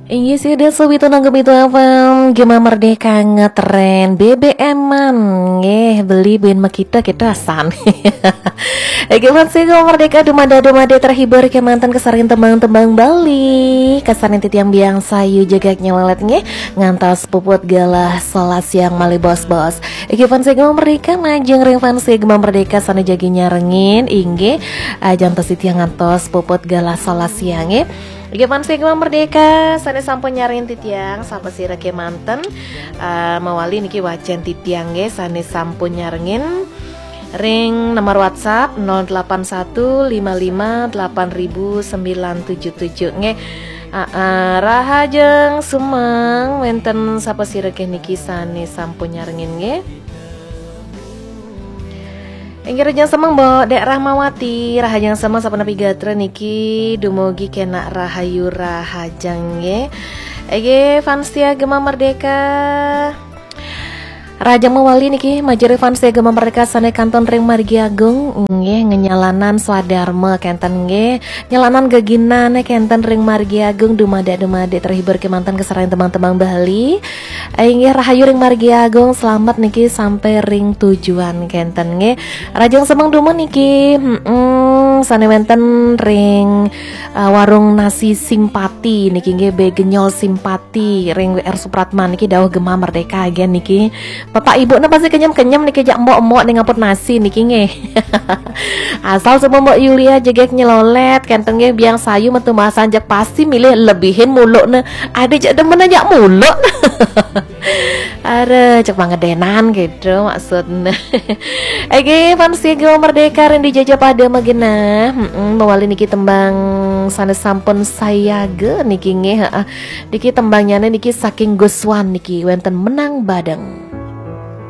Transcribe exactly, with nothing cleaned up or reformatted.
Inggih, sudah sawitara nanggung itu apa? Gema Merdeka ngetren B B M-an. Nggih, beli buin makita kita san. Oke, fans Gema Merdeka, dumade-dumade terhibur kemanten kesaring tembang-tembang Bali. Kesaring titiang biang sayu jegeg nyelelet nggih. Ngantos puput galah sebelas siang malih bos-bos. Oke, fans Gema Merdeka, majeng ring fans Gema Merdeka sane jagi nyarengin, inggih, ah, jantos titiang ngantos puput galah sebelas siang nggih. Oke, fans Gema Merdeka, sane sampun nyarengin titiang, sapasira kemanten, eh, mawali niki wacen titiang nggih, sane sampun nyarengin ring nomor WhatsApp nol delapan satu lima lima delapan ribu sembilan tujuh tujuh nggih. Ah, ah, rahajeng semeng wenten sapasira niki sane sampun nyarengin nggih. Inggih, rahajeng semeng, Mbok Dek Rahmawati, rahajeng semeng sapunapi gatra niki dumugi kenak rahayu rahajeng nggih. Inggih, fans setia Gema Merdeka. Rahajeng mawali niki majeng ring fans setia Gema Merdeka sane kantun ring Margi Agung nggih, ngenyalanan swadarma kenten nggih. Nyalanan geginane kenten ring Margi Agung, dumade-dumade terhibur kemanten kesaring tembang-tembang Bali. Inggih, rahayu ring Margi Agung, selamat niki sampai ring tujuan kenten nggih. Rahajeng semeng dumun niki, mm, sane wenten ring, eh, warung nasi Simpati niki nggih, B Genyol Simpati ring W R Supratman niki dawuh Gema Merdeka agen niki. Bapak ibu ne pasti kenyem-kenyem niki jak mbok-mbok ning ngaput nasi niki nggih. Asal semua Mbok Yulia jegeg nyelolet kenten nggih, biang sayu metu masan jak pasti milih lebihin muluk ne. Ade jak demen jak muluk. Are cek pangedenan gitu maksudnya. Oke, fans Gema Merdeka ring dija pada magenah. Mm-mm, mawali niki tembang sane sampun sayaga niki nggih, heeh. Niki tembangnyane niki saking Guswan niki wenten Menang Badeng.